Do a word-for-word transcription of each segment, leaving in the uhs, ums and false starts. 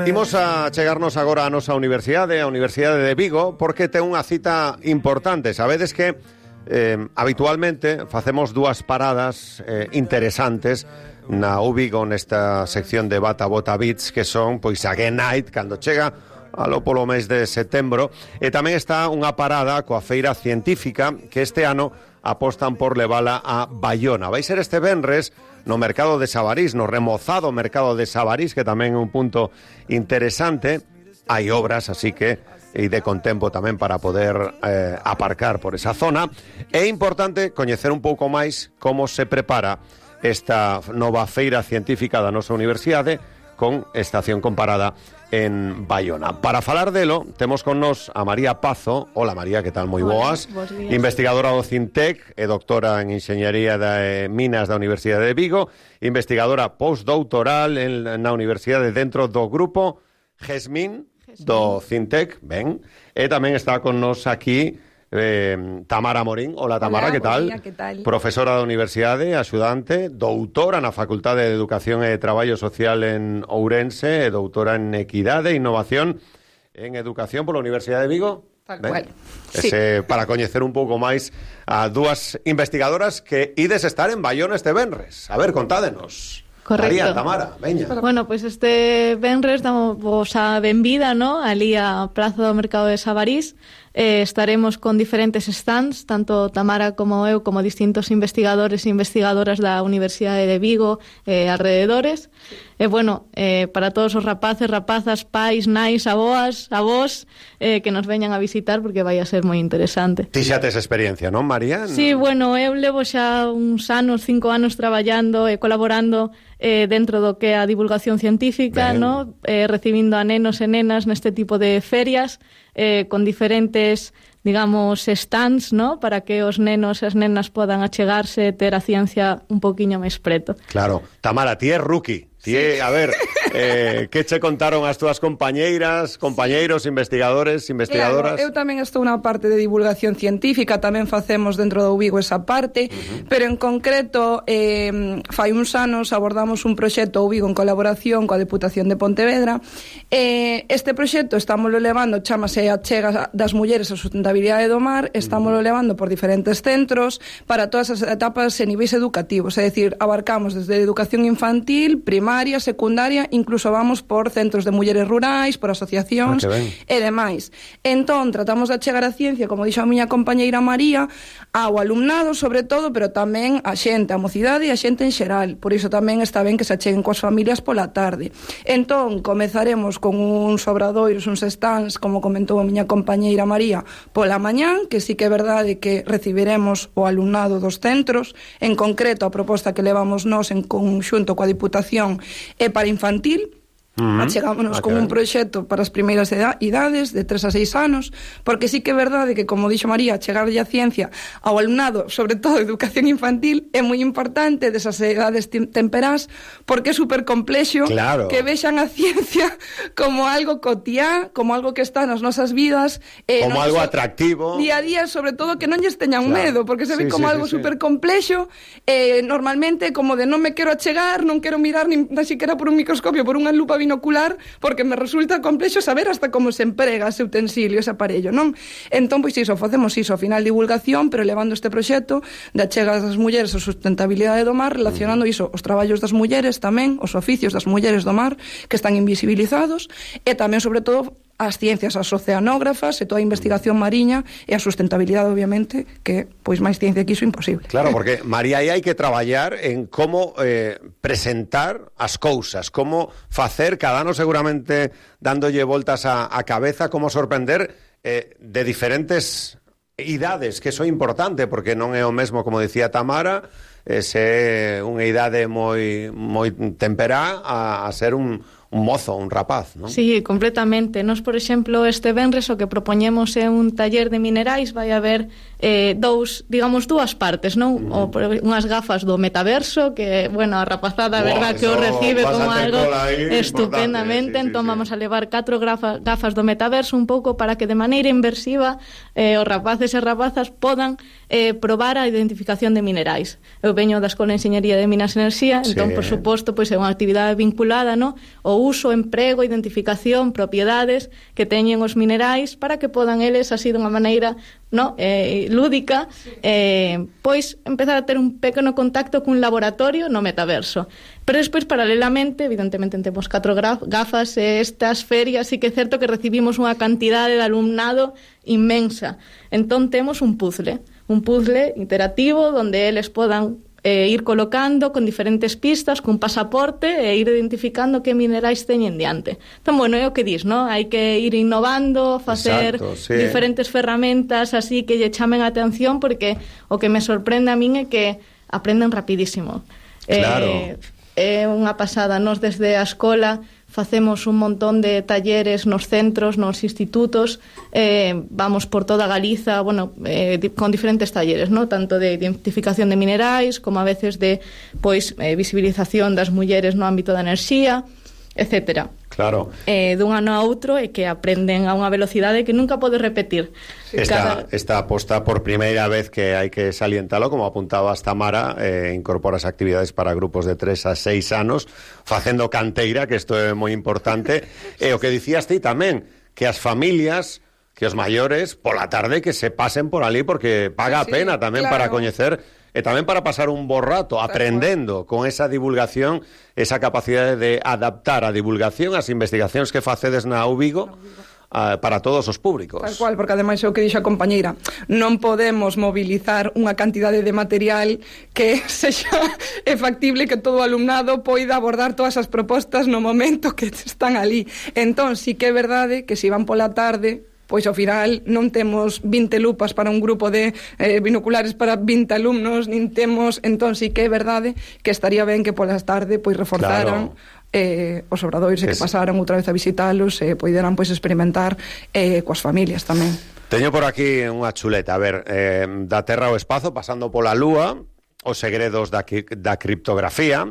Imos a chegarnos agora a nosa universidade, a Universidade de Vigo, porque ten unha cita importante. Sabedes que eh, habitualmente facemos dúas paradas eh, interesantes na U Vigo, nesta sección de Bata Bota Beats, que son, pois, a Game Night, cando chega alo polo mes de setembro, e tamén está unha parada coa feira científica, que este ano apostan por levala a Baiona. Vai ser este venres no mercado de Sabarís, no remozado mercado de Sabarís, que tamén é un punto interesante. Hai obras, así que ide con tempo tamén para poder eh, aparcar por esa zona. É importante coñecer un pouco máis como se prepara esta nova feira científica da nosa universidade con estación comparada en Baiona. Para falar delo, temos con nos a María Pazo. Hola, María, que tal? Moi boas. Investigadora do Cintec e doctora en Enxeñaría de Minas da Universidade de Vigo, investigadora postdoutoral en, na Universidade dentro do grupo GESMIN do Cintec, ben, e tamén está con nos aquí Eh, Tamara Morín. Hola, Tamara. Hola, que tal? Día, que tal? Profesora da Universidade, axudante, doutora na Facultade de Educación e Traballo Social en Ourense, e doutora en Equidade e Innovación en Educación pola Universidade de Vigo. Tal cual. Ese, sí. Para coñecer un pouco máis a dúas investigadoras que ides estar en Baiona este venres. A ver, contádenos. Correcto. María, Tamara, veña. Bueno, pois pues este venres damos a benvida, ¿no?, ali a Praza do Mercado de Sabarís. Eh, estaremos con diferentes stands, tanto Tamara como eu, como distintos investigadores e investigadoras da Universidade de Vigo e eh, alrededores. E, eh, bueno, eh, para todos os rapaces, rapazas, pais, nais, aboas, avós, eh, que nos veñan a visitar, porque vai a ser moi interesante. Ti xa tes experiencia, non, María? Sí, bueno, eu levo xa uns anos, cinco anos traballando e colaborando eh, dentro do que é a divulgación científica, no? eh, recibindo a nenos e nenas neste tipo de ferias, eh, con diferentes, digamos, stands, ¿no?, para que os nenos e as nenas podan achegarse e ter a ciencia un poquinho máis preto. Claro. Tamara, ti é rookie. Ti é, sí. A ver, eh, que che contaron as túas compañeiras, compañeiros, investigadores, investigadoras? Claro, eu tamén estou na parte de divulgación científica, tamén facemos dentro do Vigo esa parte, uh-huh. pero en concreto, eh, fai uns anos abordamos un proxecto o Vigo en colaboración coa Deputación de Pontevedra. Eh, este proxecto estámoslo levando, chámase a Chega das Mulleres a Sustentabilidade do Mar, estámoslo uh-huh. levando por diferentes centros para todas as etapas e niveis educativos, é dicir, abarcamos desde educación infantil, primaria, secundaria, incluso vamos por centros de mulleres rurais, por asociacións ah, e demais. Entón, tratamos de achegar a ciencia, como dixo a miña compañeira María, ao alumnado, sobre todo, pero tamén a xente, a mocidade e a xente en xeral. Por iso tamén está ben que se acheguen coas familias pola tarde. Entón, comezaremos con uns obradoiros, uns stands, como comentou a miña compañeira María, pola mañán, que sí que é verdade que recibiremos o alumnado dos centros, en concreto a proposta que levamos nós en conxunto coa Diputación e para infantil. Uh-huh. Achegámonos ah, con un proxecto para as primeiras idades de tres a seis anos, porque sí que é verdade que, como dixo María, chegarlle a ciencia ao alumnado, sobre todo educación infantil, é moi importante desas edades temperás, porque é super complexo, claro, que vexan a ciencia como algo cotiá, como algo que está nas nosas vidas, eh, como algo atractivo día a día, sobre todo que non lles teñan claro. medo, porque se ve sí, como sí, algo sí, super complexo, eh, normalmente como de non me quero achegar, non quero mirar nin siquiera por un microscopio, por unha lupa binocular, porque me resulta complexo saber hasta como se emprega ese utensilio, ese aparello, non? Entón, pois iso, facemos iso, ao final divulgación, pero levando este proxecto de achega das mulleres a sustentabilidade do mar, relacionando iso, os traballos das mulleres tamén, os oficios das mulleres do mar, que están invisibilizados, e tamén, sobre todo, as ciencias, as oceanógrafas e toda a investigación mariña e a sustentabilidade, obviamente, que pois máis ciencia que iso imposible. Claro, porque, María, aí hai que traballar en como eh, presentar as cousas, como facer, cada ano seguramente dándolle voltas a, a cabeza, como sorprender eh, de diferentes idades, que iso é importante, porque non é o mesmo, como decía Tamara, eh, se unha idade moi, moi temperá a, a ser un un mozo, un rapaz, non? Sí, completamente. Nos, por exemplo, este venres o que propoñemos é un taller de minerais, vai haber eh, dous, digamos, dúas partes, non? Uh-huh. O, unhas gafas do metaverso, que, bueno, a rapazada, a verdad, que o recibe como algo estupendamente, sí, entón sí, vamos a levar catro gafas, gafas do metaverso un pouco para que de maneira inversiva eh, os rapaces e rapazas podan eh, probar a identificación de minerais. Eu veño da Escola de Enxeñaría de Minas e Enerxía, entón, sí, por suposto, pois é unha actividade vinculada, non? O uso, emprego, identificación, propiedades que teñen os minerais para que podan eles, así dunha maneira no, eh, lúdica, eh, pois empezar a ter un pequeno contacto cun laboratorio no metaverso. Pero despois, paralelamente, evidentemente temos catro gafas, e estas ferias sí que é certo que recibimos unha cantidade de alumnado inmensa. Entón temos un puzzle, un puzzle interactivo onde eles podan eh, ir colocando con diferentes pistas, cun pasaporte, e ir identificando que minerais teñen diante. Entón, bueno, é o que dis, non? Hai que ir innovando, facer Exacto, sí. diferentes ferramentas así que lle chamen a atención, porque o que me sorprende a min é que aprenden rapidísimo. Claro. Eh, é unha pasada. Nos desde a escola facemos un montón de talleres nos centros, nos institutos, eh, vamos por toda Galiza, bueno, eh, con diferentes talleres, ¿no? Tanto de identificación de minerais, como a veces de pois eh, visibilización das mulleres no ámbito da enerxía, etcétera. Claro. Eh, dun ano a outro e que aprenden a unha velocidade que nunca podes repetir. Esta, Cada... esta aposta por primeira vez que hai que salientalo, como apuntaba hasta Mara, eh, incorpora as actividades para grupos de tres a seis anos, facendo canteira, que isto é moi importante, e o que dicías ti tamén, que as familias, que os maiores, pola tarde que se pasen por ali, porque paga sí, a pena tamén claro. para coñecer e tamén para pasar un bo rato aprendendo con esa divulgación, esa capacidade de adaptar a divulgación as investigacións que facedes na U Vigo uh, para todos os públicos. Tal cual, porque ademais é o que dixo a compañeira, non podemos mobilizar unha cantidade de material que sexa é factible que todo o alumnado poida abordar todas as propostas no momento que están ali. Entón, sí que é verdade que se van pola tarde, pois ao final non temos vinte lupas para un grupo de eh, binoculares para vinte alumnos, nin temos, entón sí que é verdade que estaría ben que polas tarde pois reforzaran claro. eh, os obradoiros e que pasaran outra vez a visitalos e eh, poideran pois experimentar eh, coas familias tamén. Teño por aquí unha chuleta, a ver, eh, da Terra ao espazo, pasando pola Lúa, os segredos da, da criptografía,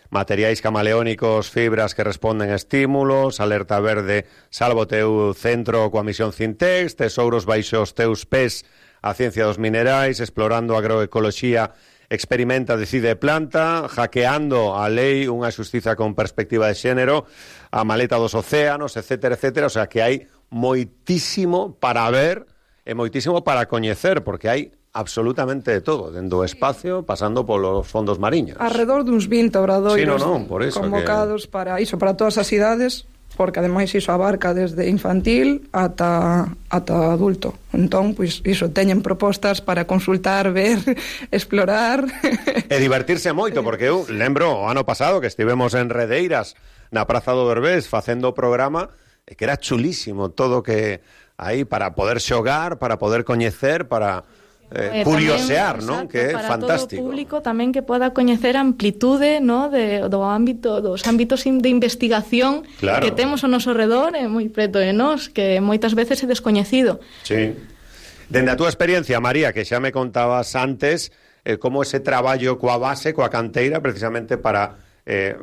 materiais camaleónicos, fibras que responden a estímulos, alerta verde, salvo teu centro coa misión Cintex, tesouros baixo os teus pés, a ciencia dos minerais, explorando agroecoloxía, experimenta, decide planta, hackeando a lei, unha xustiza con perspectiva de xénero, a maleta dos océanos, etcétera, etcétera, o sea que hai moitísimo para ver e moitísimo para coñecer, porque hai absolutamente de todo, dentro do espacio, pasando polos fondos mariños. Arredor duns vinte obradoiros sí, no, no, por eso convocados que... para iso, para todas as idades, porque ademais iso abarca desde infantil ata, ata adulto. Entón, pois, iso, teñen propostas para consultar, ver, explorar... E divertirse moito, porque eu lembro o ano pasado que estivemos en Redeiras, na Praza do Berbés, facendo o programa, e que era chulísimo todo que aí para poder xogar, para poder coñecer, para... Eh, eh, curiosear, non? Que é fantástico. Para todo o público tamén que poda coñecer a amplitude, no, de do ámbito dos ámbitos de investigación claro. que temos ao noso redor, é moi preto de nós, que moitas veces é descoñecido. Sí. Dende a túa experiencia, María, que xa me contabas antes, eh, como ese traballo coa base, coa canteira, precisamente para eh,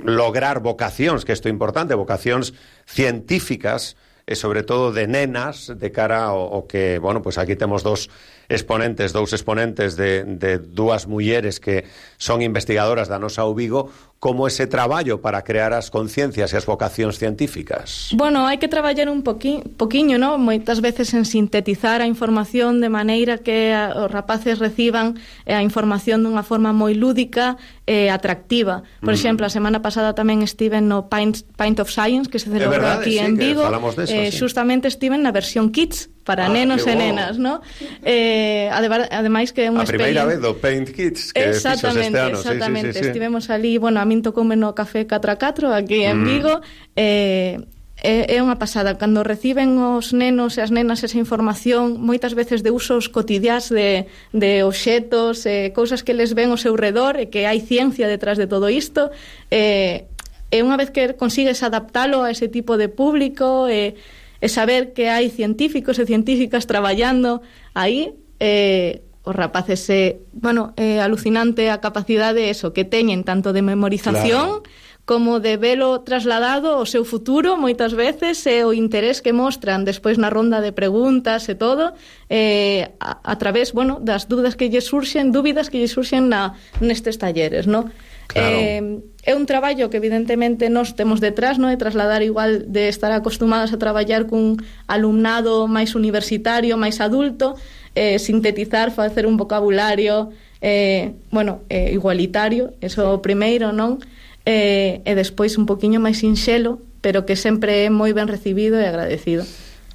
lograr vocacións, que isto é importante, vocacións científicas, e sobre todo de nenas, de cara ao, ao que, bueno, pues aquí temos dos exponentes, dous exponentes de, de dúas mulleres que son investigadoras da nosa U Vigo, como ese traballo para crear as conciencias e as vocacións científicas. Bueno, hai que traballar un poqui, poquiño, ¿no? Moitas veces en sintetizar a información de maneira que a, os rapaces reciban a información dunha forma moi lúdica e atractiva. Por mm. exemplo, a semana pasada tamén estiven no Pint, Pint of Science, que se celebrou aquí sí, en Vigo. Deso, eh, sí. Justamente estiven na versión Kids, para ah, nenos e nenas, ¿no? Eh, ademais que é unha experiencia... A primeira vez do Paint Kids, que fixos este ano. Exactamente, sí, sí, sí, sí. Estivemos ali, bueno, a min tocoume no Café catro a catro aquí en mm. Vigo, eh, é, é unha pasada. Cando reciben os nenos e as nenas esa información, moitas veces de usos cotidiás de, de obxetos, eh, cousas que les ven ao seu redor, e que hai ciencia detrás de todo isto, eh, e unha vez que consigues adaptalo a ese tipo de público, e eh, e saber que hai científicos e científicas traballando aí, eh, os rapaces é, bueno, é alucinante a capacidade eso que teñen tanto de memorización claro. como de velo trasladado ao seu futuro moitas veces, e o interés que mostran despois na ronda de preguntas e todo, eh, a, a través, bueno, das dúbidas que lle surxen, dúbidas que lle surxen na, nestes talleres, ¿no? Claro. Eh, é un traballo que evidentemente nós temos detrás, non? De trasladar igual de estar acostumados a traballar cun alumnado máis universitario, máis adulto, eh, sintetizar, facer un vocabulario eh, bueno, eh, igualitario, eso o primeiro, non? Eh, e despois un poquinho máis sinxelo, pero que sempre é moi ben recibido e agradecido.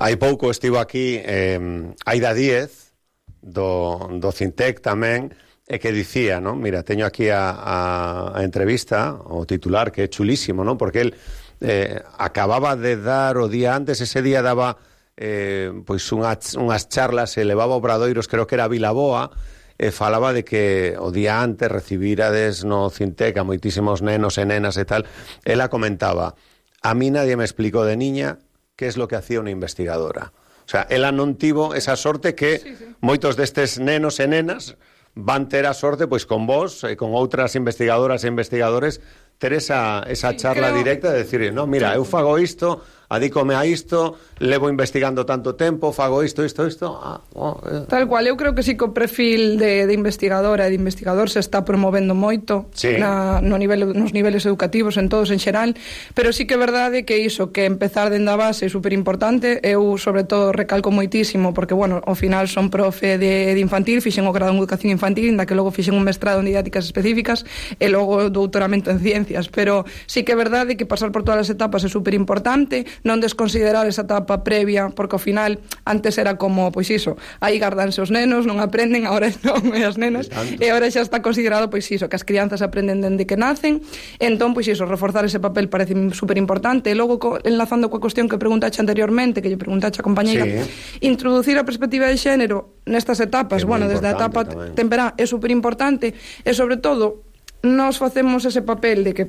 Hai pouco estivo aquí eh, Aida Díez do, do Cintec tamén, e que dicía, ¿no? Mira, teño aquí a, a, a entrevista, o titular, que é chulísimo, ¿no? Porque el eh, acababa de dar o día antes, ese día daba eh, pois unhas, unhas charlas, e levaba obradoiros, creo que era a Vilaboa, e falaba de que o día antes recibirades no Cintec a moitísimos nenos e nenas e tal. Ela comentaba, a mí nadie me explicó de niña que es lo que hacía unha investigadora. O sea, ela non tivo esa sorte que sí, sí. moitos destes nenos e nenas van ter a sorte, pois con vos e con outras investigadoras e investigadores, ter esa, esa charla creo... directa de decir, no, mira, eu fago isto, adícome a isto, levo investigando tanto tempo, fago isto, isto, isto. Ah, oh, eh. Tal cual, eu creo que sí que o perfil de, de investigadora e de investigador se está promovendo moito sí. na, no nivel, nos niveles educativos, en todos en xeral, pero sí que é verdade que iso, que empezar dende a base é super importante. Eu, sobre todo, recalco moitísimo, porque, bueno, ao final son profe de, de infantil, fixen o grado en educación infantil, inda que logo fixen un mestrado en didácticas específicas e logo doutoramento en ciencias, pero sí que é verdade que pasar por todas as etapas é super importante, non desconsiderar esa etapa previa, porque ao final antes era como, pois iso, aí gardanse os nenos, non aprenden, agora non, e as nenas, e agora xa está considerado, pois iso, que as crianzas aprenden dende que nacen. Entón, pois iso, reforzar ese papel parece super importante. E logo, co, enlazando coa cuestión que preguntaxe anteriormente, que lle preguntaxe a compañeira, sí. introducir a perspectiva de xénero nestas etapas, bueno, desde a etapa tamén. Temperá, é super importante, e sobre todo nós facemos ese papel de que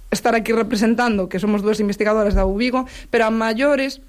estar aquí representando que somos dúas investigadoras da U Vigo, pero a maiores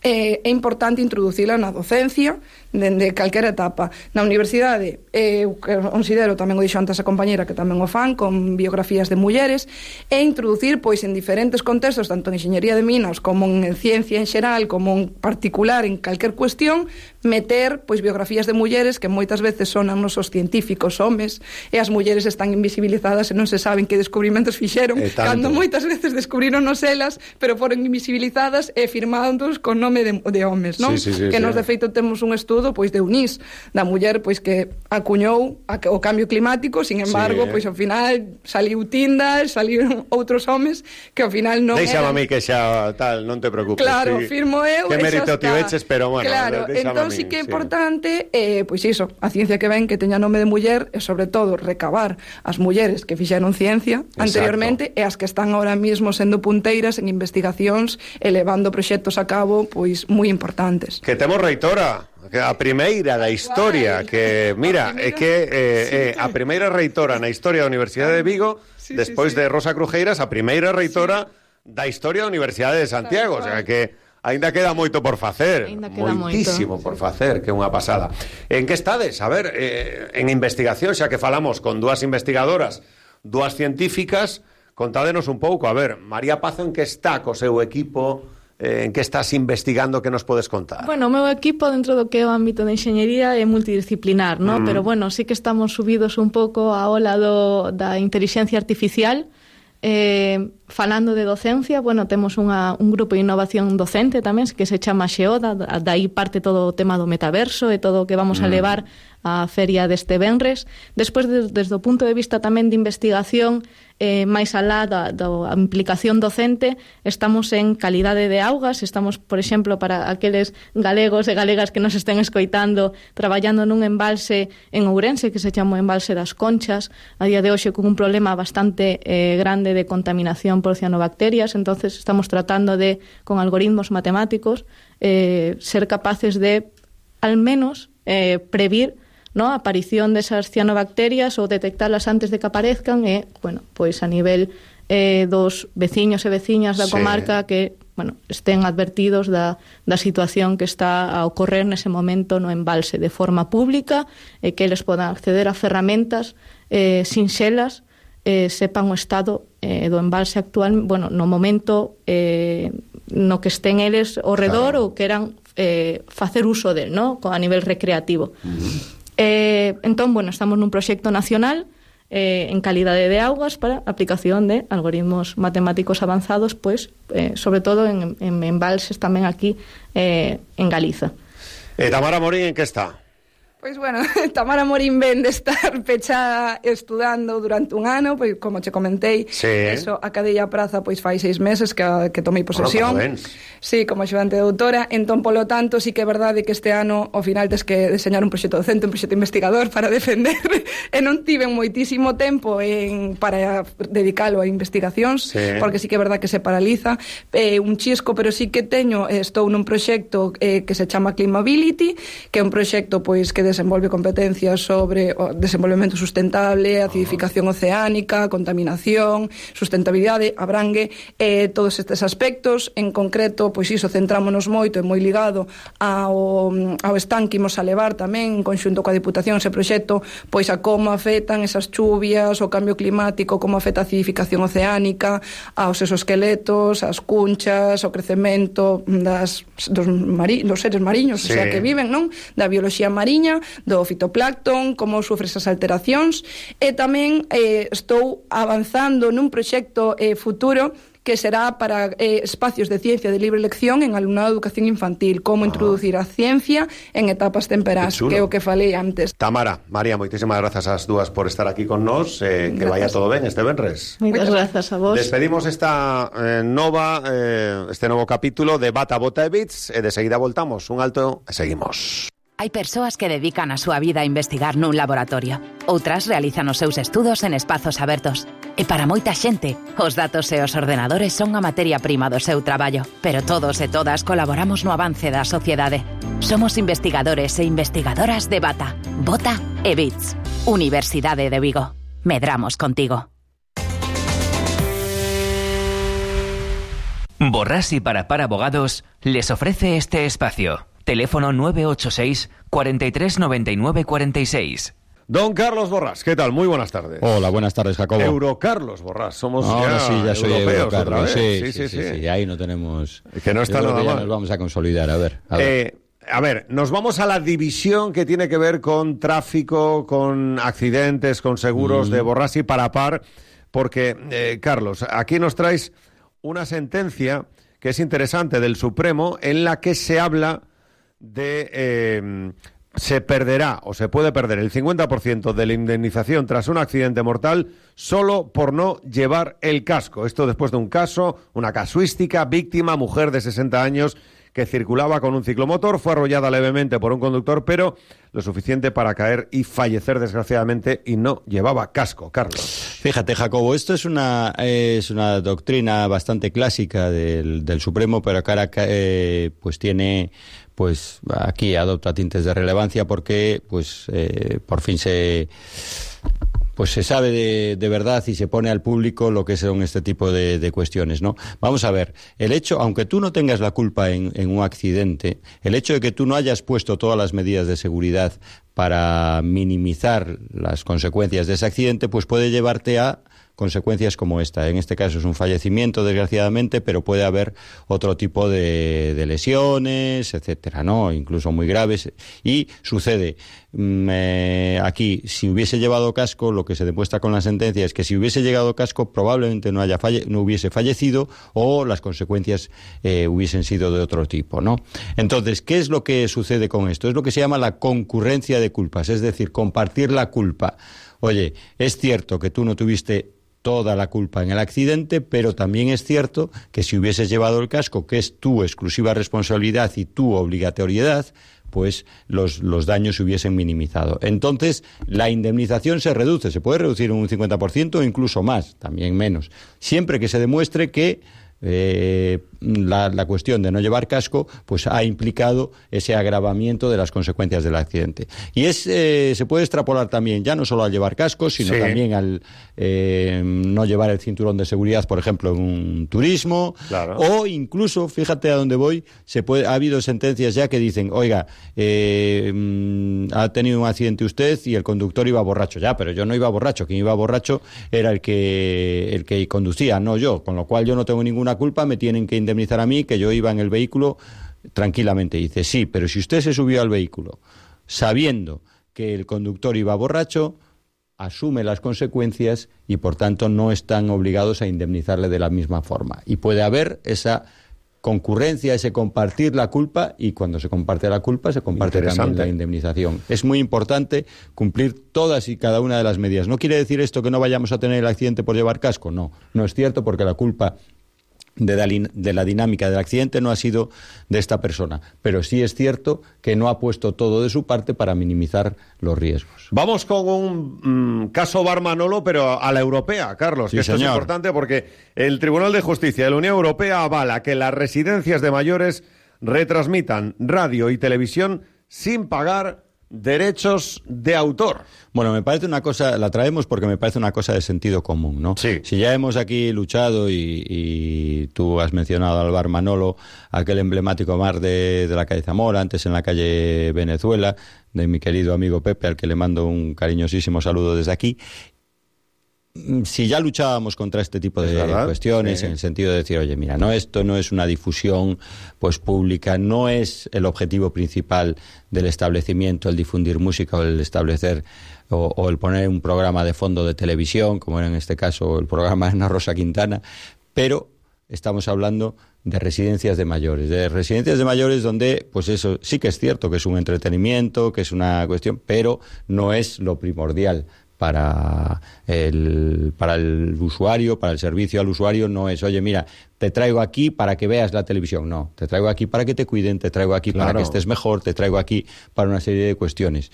eh, é importante introducila na docencia dende calquera etapa. Na universidade, eh, eu considero, tamén o dixo antes a compañera que tamén o fan, con biografías de mulleres, e introducir, pois, en diferentes contextos, tanto en enxeñería de minas como en ciencia en xeral, como en particular en calquer cuestión, meter, pois, biografías de mulleres que moitas veces son nos os científicos homes, e as mulleres están invisibilizadas e non se saben que descubrimentos fixeron, cando moitas veces descubrironos elas, pero foron invisibilizadas e firmados con nome de, de homes, non? Sí, sí, sí, que sí. nos, de feito, temos un estudo, pois, de UNIS, da muller, pois, que acuñou a, o cambio climático, sin embargo, sí, pois, ao final saliu Tindar, saliu outros homes que ao final non Deixame eran... a mí que xa tal, non te preocupes. Claro, sí. firmo eu, que mérito tiveches, pero bueno, claro, entón sí que é importante, eh, pois iso, a ciencia que ven que teña nome de muller, e sobre todo recabar as mulleres que fixeron ciencia anteriormente. Exacto. E as que están ahora mismo sendo punteiras en investigacións e levando proxectos a cabo, pois moi importantes. Que temos reitora, a primeira da historia, que mira, é que eh, eh, a primeira reitora na historia da Universidade de Vigo, sí, despois sí, sí. de Rosa Crujeiras, a primeira reitora sí. da historia da Universidade de Santiago, o sea que aínda queda moito por facer, moitísimo moito. por facer, que é unha pasada. En que estades? A ver, eh, en investigación, xa que falamos con dúas investigadoras, dúas científicas, contádenos un pouco, a ver, María Pazo en que está co seu equipo, eh, en que estás investigando, que nos podes contar? Bueno, o meu equipo dentro do que é o ámbito de enxeñería é multidisciplinar, ¿no? Mm. Pero bueno, sí que estamos subidos un pouco a ola do, da inteligencia artificial. Eh, falando de docencia, bueno, temos unha, un grupo de innovación docente tamén que se chama Xeoda, dai parte todo o tema do metaverso e todo o que vamos mm. a levar á feria deste venres. Despois, de, desde o punto de vista tamén de investigación, eh, máis alá da, da implicación docente, estamos en calidade de augas, estamos, por exemplo, para aqueles galegos e galegas que nos estén escoitando, traballando nun embalse en Ourense que se chama o embalse das Conchas, a día de hoxe con un problema bastante eh, grande de contaminación por cianobacterias. Entonces estamos tratando de, con algoritmos matemáticos, eh, ser capaces de, al menos, eh, previr, ¿no?, a aparición desas cianobacterias ou detectarlas antes de que aparezcan e, bueno, pois a nivel eh, dos veciños e veciñas da comarca sí. que, bueno, estén advertidos da, da situación que está a ocorrer nese momento no embalse de forma pública e que eles podan acceder a ferramentas eh, sinxelas, eh, sepan o estado eh, do embalse actual, bueno, no momento eh, no que estén eles ao redor claro. ou queran eh, facer uso del, ¿no?, a nivel recreativo. Uh-huh. Eh, entón, bueno, estamos nun proxecto nacional eh, en calidade de augas para aplicación de algoritmos matemáticos avanzados, pois, eh, sobre todo en, en embalses tamén aquí eh, en Galiza. Eh, Tamara Morín, en que está? Pois, bueno, Tamara Morín ven de estar pechada estudando durante un ano, pois, como che comentei, sí. Eso, a cadella praza, pois, fai seis meses que, que tomei posesión. Bueno, sí, como axudante de doutora, entón, polo tanto, sí que é verdade que este ano, ao final, tes que deseñar un proxecto docente, un proxecto investigador para defender, e non tiven moitísimo tempo en, para dedicalo a investigacións, sí. Porque sí que é verdade que se paraliza, eh, un chisco, pero sí que teño, eh, estou nun proxecto eh, que se chama Climability, que é un proxecto, pois, que desenvolve competencias sobre o desenvolvemento sustentable, acidificación oceánica, contaminación, sustentabilidade, abrangue eh, todos estes aspectos. En concreto, pois iso, centrámonos moito e moi ligado ao, ao stand que imos a levar tamén en conxunto coa Diputación ese proxecto, pois a como afectan esas chuvias, o cambio climático, como afecta a acidificación oceánica, aos exoesqueletos, as cunchas, o crecemento das, dos, mari, dos seres mariños, sí. O sea, que viven, non? Da bioloxía mariña, do fitoplancton, como sufre esas alteracións, e tamén eh, estou avanzando nun proxecto eh, futuro que será para eh, espacios de ciencia de libre elección en alumnado de educación infantil, como ah. introducir a ciencia en etapas temperás, que é o que falei antes. Tamara, María, moitísimas grazas ás dúas por estar aquí con nós, eh, que vaya todo ben este venres. Moitas grazas a vos. Despedimos esta eh, nova eh, este novo capítulo de Bata, Bota e Bits, e de seguida voltamos, un alto e seguimos. Hai persoas que dedican a súa vida a investigar nun laboratorio. Outras realizan os seus estudos en espazos abertos. E para moita xente, os datos e os ordenadores son a materia prima do seu traballo. Pero todos e todas colaboramos no avance da sociedade. Somos investigadores e investigadoras de Bata, Bota e Bits. Universidade de Vigo. Medramos contigo. Borrás y Parapar Abogados les ofrece este espacio. Teléfono nueve ocho seis, cuarenta y tres, noventa y nueve, cuarenta y seis. Don Carlos Borrás, ¿qué tal? Muy buenas tardes. Hola, buenas tardes, Jacobo. Eurocarlos Borrás, somos Ahora ya sí, ya soy europeos Eurocarlos, otra vez. Sí, Sí, sí, sí, sí, sí, ahí no tenemos... Que no está Yo creo nada que ya mal. nos vamos a consolidar, a ver. A ver. Eh, a ver, nos vamos a la división que tiene que ver con tráfico, con accidentes, con seguros mm. de Borrás y Parapar, porque, eh, Carlos, aquí nos traes una sentencia que es interesante del Supremo en la que se habla de eh, se perderá o se puede perder el cincuenta por ciento de la indemnización tras un accidente mortal solo por no llevar el casco. Esto después de un caso, una casuística, víctima, mujer de sesenta años que circulaba con un ciclomotor, fue arrollada levemente por un conductor, pero lo suficiente para caer y fallecer desgraciadamente, y no llevaba casco. Carlos. Fíjate, Jacobo, esto es una es una doctrina bastante clásica del, del Supremo, pero que ahora eh, pues tiene... pues aquí adopta tintes de relevancia porque pues eh, por fin se pues se sabe de, de verdad y se pone al público lo que son este tipo de, de cuestiones, ¿no? Vamos a ver, el hecho, aunque tú no tengas la culpa en, en un accidente, el hecho de que tú no hayas puesto todas las medidas de seguridad para minimizar las consecuencias de ese accidente, pues puede llevarte a consecuencias como esta. En este caso es un fallecimiento, desgraciadamente, pero puede haber otro tipo de, de lesiones, etcétera, ¿no? Incluso muy graves. Y sucede eh, aquí, si hubiese llevado casco, lo que se demuestra con la sentencia es que si hubiese llegado casco, probablemente no haya falle no hubiese fallecido, o las consecuencias eh, hubiesen sido de otro tipo, ¿no? Entonces, ¿qué es lo que sucede con esto? Es lo que se llama la concurrencia de culpas, es decir, compartir la culpa. Oye, es cierto que tú no tuviste toda la culpa en el accidente, pero también es cierto que si hubieses llevado el casco, que es tu exclusiva responsabilidad y tu obligatoriedad, pues los, los daños se hubiesen minimizado. Entonces, la indemnización se reduce, se puede reducir en un cincuenta por ciento o incluso más, también menos, siempre que se demuestre que Eh, la, la cuestión de no llevar casco pues ha implicado ese agravamiento de las consecuencias del accidente. Y es eh, se puede extrapolar también ya no solo al llevar casco, sino sí. también al eh, no llevar el cinturón de seguridad, por ejemplo, en un turismo, claro. O incluso, fíjate a dónde voy, se puede, ha habido sentencias ya que dicen, oiga, eh, ha tenido un accidente usted y el conductor iba borracho. Ya, pero yo no iba borracho, quien iba borracho era el que, el que conducía, no yo, con lo cual yo no tengo ninguna culpa, me tienen que indemnizar a mí, que yo iba en el vehículo tranquilamente. Dice, sí, pero si usted se subió al vehículo sabiendo que el conductor iba borracho, asume las consecuencias y, por tanto, no están obligados a indemnizarle de la misma forma. Y puede haber esa concurrencia, ese compartir la culpa, y cuando se comparte la culpa se comparte también la indemnización. Es muy importante cumplir todas y cada una de las medidas. ¿No quiere decir esto que no vayamos a tener el accidente por llevar casco? No, no es cierto, porque la culpa de la, de la dinámica del accidente no ha sido de esta persona, pero sí es cierto que no ha puesto todo de su parte para minimizar los riesgos. Vamos con un mmm, caso Bar Manolo, pero a la europea, Carlos, sí, que esto señor. es importante porque el Tribunal de Justicia de la Unión Europea avala que las residencias de mayores retransmitan radio y televisión sin pagar derechos de autor. Bueno, me parece una cosa, la traemos porque me parece una cosa de sentido común, ¿no? Sí. Si ya hemos aquí luchado y, y tú has mencionado al Bar Manolo, aquel emblemático bar de, de la calle Zamora, antes en la calle Venezuela, de mi querido amigo Pepe, al que le mando un cariñosísimo saludo desde aquí. Si ya luchábamos contra este tipo de cuestiones, sí, en el sentido de decir, oye, mira, no, esto no es una difusión pues pública, no es el objetivo principal del establecimiento el difundir música o el establecer o, o el poner un programa de fondo de televisión, como era en este caso el programa de Ana Rosa Quintana, pero estamos hablando de residencias de mayores, de residencias de mayores donde, pues eso sí que es cierto que es un entretenimiento, que es una cuestión, pero no es lo primordial. Para el, para el usuario, para el servicio al usuario, no es, oye, mira, te traigo aquí para que veas la televisión. No, te traigo aquí para que te cuiden, te traigo aquí, claro, para que estés mejor, te traigo aquí para una serie de cuestiones.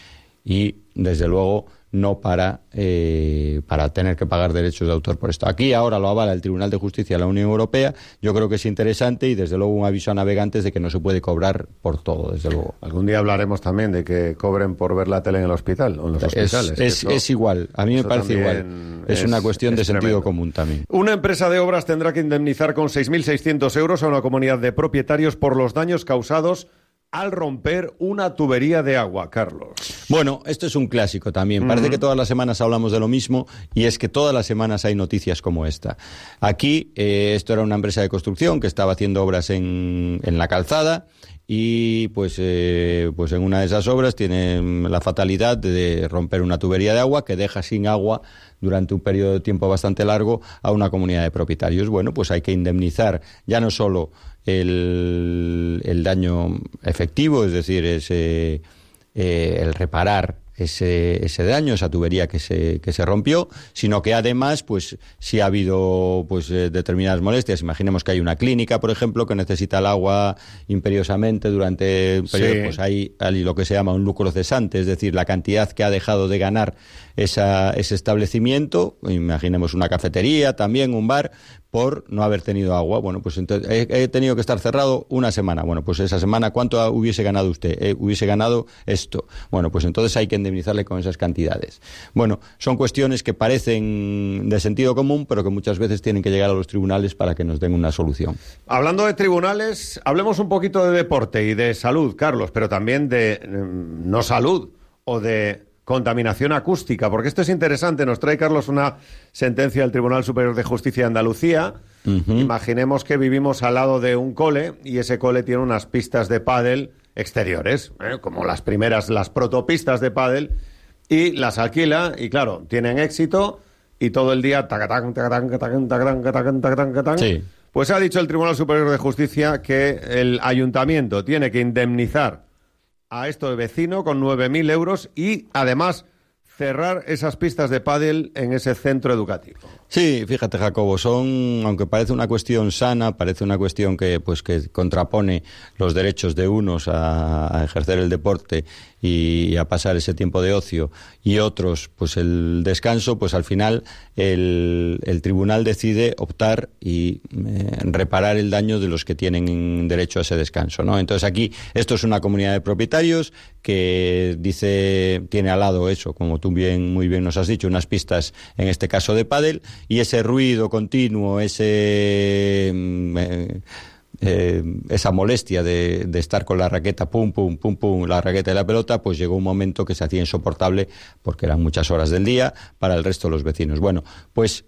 Y, desde luego, no para, eh, para tener que pagar derechos de autor por esto. Aquí ahora lo avala el Tribunal de Justicia de la Unión Europea. Yo creo que es interesante y, desde luego, un aviso a navegantes de que no se puede cobrar por todo, desde luego. Algún día hablaremos también de que cobren por ver la tele en el hospital o en los hospitales. Es, es, eso, es igual, a mí me parece igual. Es, es una cuestión de es sentido tremendo. común también. Una empresa de obras tendrá que indemnizar con seis mil seiscientos euros a una comunidad de propietarios por los daños causados al romper una tubería de agua, Carlos. Bueno, esto es un clásico también. Uh-huh. Parece que todas las semanas hablamos de lo mismo, y es que todas las semanas hay noticias como esta. Aquí, eh, esto era una empresa de construcción que estaba haciendo obras en, en la calzada, y pues, eh, pues en una de esas obras tiene la fatalidad de romper una tubería de agua que deja sin agua durante un periodo de tiempo bastante largo a una comunidad de propietarios. Bueno, pues hay que indemnizar ya no solo el, el daño efectivo, es decir, ese, eh, el reparar ese, ese daño, esa tubería que se, que se rompió, sino que además, pues, si ha habido pues eh, determinadas molestias. Imaginemos que hay una clínica, por ejemplo, que necesita el agua imperiosamente durante un periodo, sí, pues hay, hay lo que se llama un lucro cesante, es decir, la cantidad que ha dejado de ganar esa, ese establecimiento. Imaginemos una cafetería, también un bar, por no haber tenido agua. Bueno, pues entonces he, he tenido que estar cerrado una semana. Bueno, pues esa semana, ¿cuánto hubiese ganado usted? Eh, hubiese ganado esto. Bueno, pues entonces hay que indemnizarle con esas cantidades. Bueno, son cuestiones que parecen de sentido común, pero que muchas veces tienen que llegar a los tribunales para que nos den una solución. Hablando de tribunales, hablemos un poquito de deporte y de salud, Carlos, pero también de eh, no salud o de contaminación acústica, porque esto es interesante. Nos trae, Carlos, una sentencia del Tribunal Superior de Justicia de Andalucía. Uh-huh. Imaginemos que vivimos al lado de un cole y ese cole tiene unas pistas de pádel exteriores, ¿eh? como las primeras, las protopistas de pádel, y las alquila, y claro, tienen éxito, y todo el día tacatán, tacatán, tacatán, tacatán, tacatán, tacatán, tacatán. Sí. Pues ha dicho el Tribunal Superior de Justicia que el ayuntamiento tiene que indemnizar a esto vecino con nueve mil euros y, además, cerrar esas pistas de pádel en ese centro educativo. Sí, fíjate, Jacobo, son, aunque parece una cuestión sana, parece una cuestión que pues que contrapone los derechos de unos a, a ejercer el deporte y a pasar ese tiempo de ocio, y otros pues el descanso, pues al final el, el tribunal decide optar y eh, reparar el daño de los que tienen derecho a ese descanso, ¿no? Entonces aquí esto es una comunidad de propietarios que dice, tiene al lado eso, como tú bien muy bien nos has dicho, unas pistas, en este caso de pádel, y ese ruido continuo, ese eh, eh, esa molestia de, de estar con la raqueta, pum, pum, pum, pum, la raqueta y la pelota, pues llegó un momento que se hacía insoportable porque eran muchas horas del día para el resto de los vecinos. Bueno, pues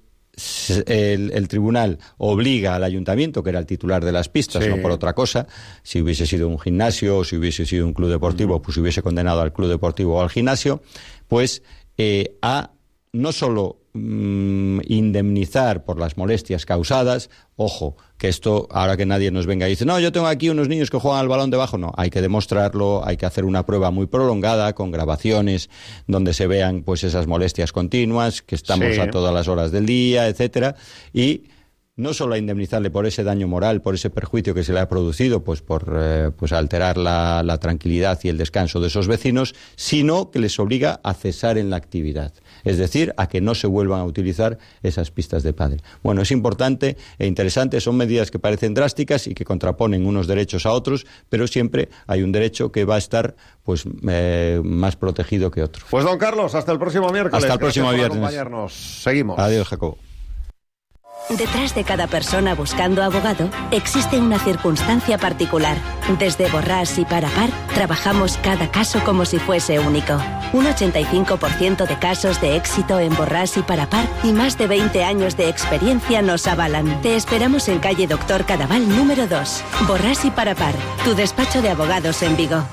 El, el tribunal obliga al ayuntamiento, que era el titular de las pistas, sí, no por otra cosa. Si hubiese sido un gimnasio o si hubiese sido un club deportivo, pues hubiese condenado al club deportivo o al gimnasio, pues eh, a no solo mmm, indemnizar por las molestias causadas, ojo, que esto, ahora que nadie nos venga y dice, no, yo tengo aquí unos niños que juegan al balón debajo, no, hay que demostrarlo, hay que hacer una prueba muy prolongada, con grabaciones, donde se vean pues esas molestias continuas, que estamos sí. a todas las horas del día, etcétera, y no solo a indemnizarle por ese daño moral, por ese perjuicio que se le ha producido, pues por eh, pues alterar la, la tranquilidad y el descanso de esos vecinos, sino que les obliga a cesar en la actividad. Es decir, a que no se vuelvan a utilizar esas pistas de pádel. Bueno, es importante e interesante, son medidas que parecen drásticas y que contraponen unos derechos a otros, pero siempre hay un derecho que va a estar pues eh, más protegido que otro. Pues don Carlos, hasta el próximo miércoles. Hasta el próximo Gracias viernes. por acompañarnos. Seguimos. Adiós, Jacobo. Detrás de cada persona buscando abogado existe una circunstancia particular. Desde Borràs y Parapar trabajamos cada caso como si fuese único. Un ochenta y cinco por ciento de casos de éxito en Borràs y Parapar y más de veinte años de experiencia nos avalan. Te esperamos en calle Doctor Cadaval número dos. Borràs y Parapar, tu despacho de abogados en Vigo.